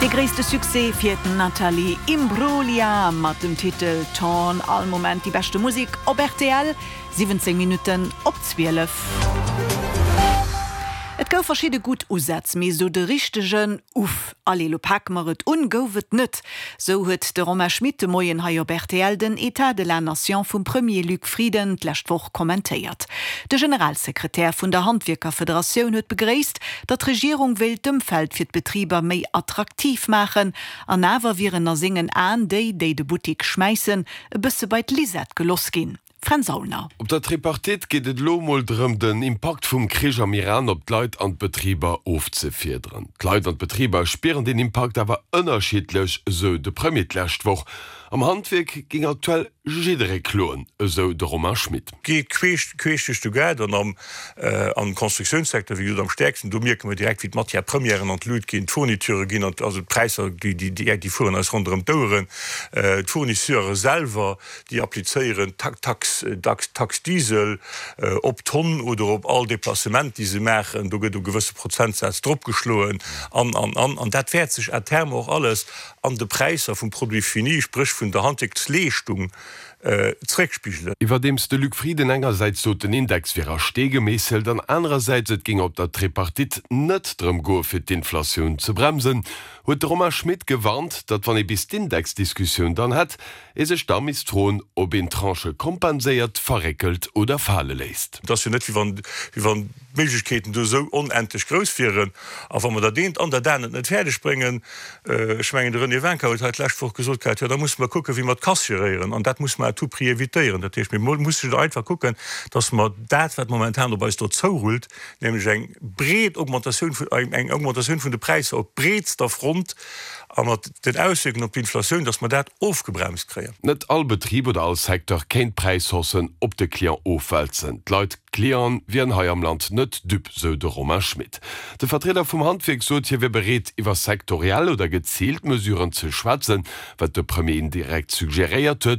Dee gréisste Succès fir d'Natalie Imbruglia mat dem Titel Torn. All Moment déi beschte Musek op rtl, 17 Minutten op 12. Et gouf verschidde gutt Usätz, mee esou de richtegen Uff, allez lo pake mer et un gouf et net. Sou huet de Romain Schmit de Moien hei op rtl den Etat de la Nation vum Premier Luc Frieden d'lescht Woch kommentéiert. De Generalsekretär vun der Handwierkerfederatioun huet begréisst, datt d'Regierung wéilt d'Ëmfeld fir d'Betriber méi attraktiv maachen. An awer wieren a sengen Aen déi, déi de Buttik schmäissen, e bësse bei d'Lisette geloss ginn. Fränz Aulner. Op der Tripartite geet et elo emol drëm, den Impakt vum Krich am Iran op d'Leit an d'Betriber ofzefiederen. D'Leit an d'Betriber spieren deen Impakt awer ënnerschiddlech, esou de Premier d'lescht Woch. Am Handwierk géing aktuell jidderee kloen, esou de Romain Schmit. Geet queesch duerch de Gaart an am am Constructiounssecteur, wéi gesot, am stäerksten. Do mierke mer direkt, wéi d'Matière-premièren an d'Lut ginn, d'Fourniturë ginn an, also d'Präisser, déi fueren eis ronderëm d'Oueren. D'Fournisseure selwer, déi applizéieren d'Taxe, Taxe Diesel op d'Tonn oder op all Déplacement, déi se maachen. Do gëtt e gewësse Prozentsaz dropgeschloen an, an, an. An dat wäert sech à terme och alles an de Präisser vum Produit fini, spréch vun der Handwierksleeschtung, zeréckspigelen. Iwwerdeems de Luc Frieden engersäits sot, den Index wier a Stee gemeesselt an anerersäits et géing op der Tripartite net drëm goe fir d'Inflatioun ze bremsen, huet de Romain Schmit gewarnt, datt wann ee bis d'Indexdiskussioun dann hätt, ee sech da misst froen, ob een Tranchë kompenséiert, verréckelt oder fale léisst. Et ass jo net, wéi wann, wéi wann d'Méiglechkeeten do esou onendlech grouss wieren. A wa mer dat eent an dat anert net fäerdeg bréngen, ech mengen, de René Wincker huet hei d'lescht Woch gesot gehat, jo da musse mer kucken, wéi mer d'Kass geréieren. An dat musse mer à tout prix évitéieren. Dat heescht, mir mussen einfach kucken, dass mer dat, wat momentan op eis do zourullt, nämlech eng breet Augmentatioun vun, eng Augmentatioun vun de Präisser op breetster Front a mat den Auswierkungen op d'Inflatioun, dass mer dat ofgebremst kréien. Net all Betrib oder all Secteur kéint d'Präishaussen op de Client ofwälzen. D'Leit, d'Clienten, wieren hei am Land net dupe, sou de Romain Schmit. De Vertrieder vum Handwierk sot, hie wier bereet, iwwer sektoriell oder geziilt Mesuren ze schwätzen, wat de Premier indirekt suggeréiert huet.